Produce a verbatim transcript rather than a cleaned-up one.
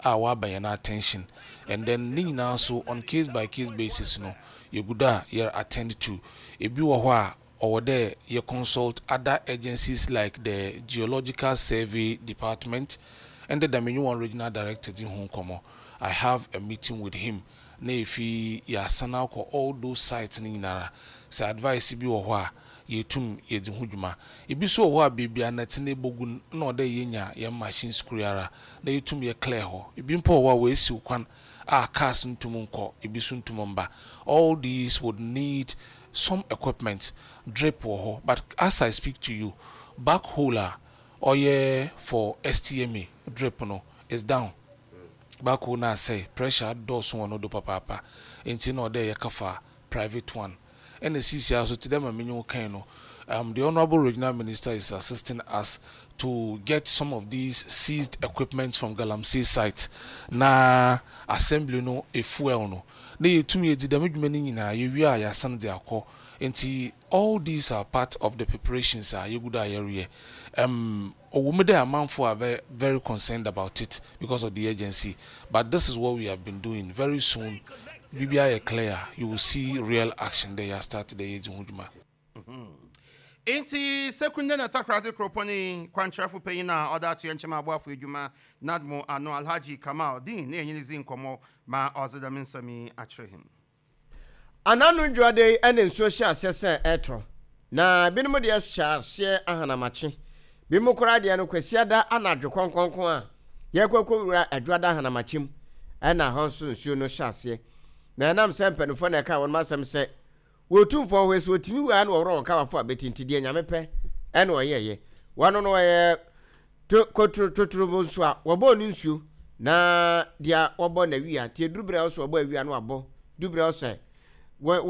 a waba yɛn attention, and then ne nyinaa so on case by case basis no, yɛgu do a yɛ attend to. Ebi wɔ hɔ a ɔwɔ dɛ yɛ consult other agencies like the Geological Survey Department, and the Damenyi regional director di ho nkɔmmɔ. I have a meeting with him na efi yɛasan akɔ all those sites no nyinara sɛ advice bi wɔ hɔ a yɛtum yɛdzi ho dwuma. Ebi nso wɔ hɔ a beebi a nɛte no ebogu no na ɔdɛ yɛnya yɛn machines koro ara na yɛtum yɛ clear hɔ. Ebi mpo wɔ hɔ a wɔesiw kwan a cars ntum nkɔ, ebi nso ntum mba. All these would need some equipment. Drip wɔ hɔ, but as I speak to you, backhoe a ɔyɛ for S T M A drip no is down. Backhoe na asɛe, pressure dɔɔso wɔ no do papaapa, nti na ɔdɛ yɛkafa private one. Ɛna sisi aso te dɛ ma menye wo kan no, um, the Honorable Regional Minister is assisting us to get some of these seized equipment from galamsey site na assembly no efuel no na yɛtumi yɛdi dɛm adwuma no nyinaa. Yɛwie a, yɛasan de akɔ. Nti all these are part of the preparations a yɛgu do a yɛreyɛ. um, ɔwɔ mu dɛ amanfo are very, very concerned about it because of the agency, but this is what we have been doing. Very soon, biribiara yɛ clear, you will see real action there. Yɛ start dɛ yɛdzi ho dwuma. Nti Sekunde na Takrade kuropɔn yi kwankyerɛfo panyin a ɔda ato nkyɛn aboafo adwuma NADMO ano, Alhaji Kamal Din, ne ɛnyɛ ne zi nkɔmmɔ ma ɔdze dɛm nsɛm yi akyerɛ him. Anano dwuade yi ɛne nsuo hyɛ aseɛ sɛ ɛtɔ na binom deɛ hyɛ aseɛ ahanamakye, binom koraa deɛ no Kwasiada anadwo kɔnkɔnkɔn a yɛkɔkɔ wura Adwuada ahanamakye mu, ɛna hɔ nso nsuo no hyɛ aseɛ. Na ɛnam sɛ mpanimfoɔ na ɛka wɔn asɛm sɛ wɔtumfoɔ hɔ so wɔtumi wua na wɔworɔ wɔn kawafo a bɛti, nti deɛ Nyame pɛ ɛna ɔyɛɛyɛ. Wɔno no wɔyɛ to kotoro totoro nso a wɔbɔɔ no nsuo na deɛ wɔbɔ n'awia nti eduru berɛ a wɔsɔ wɔbɔ awia no, wabɔ du berɛ a wɔsɛ wɔ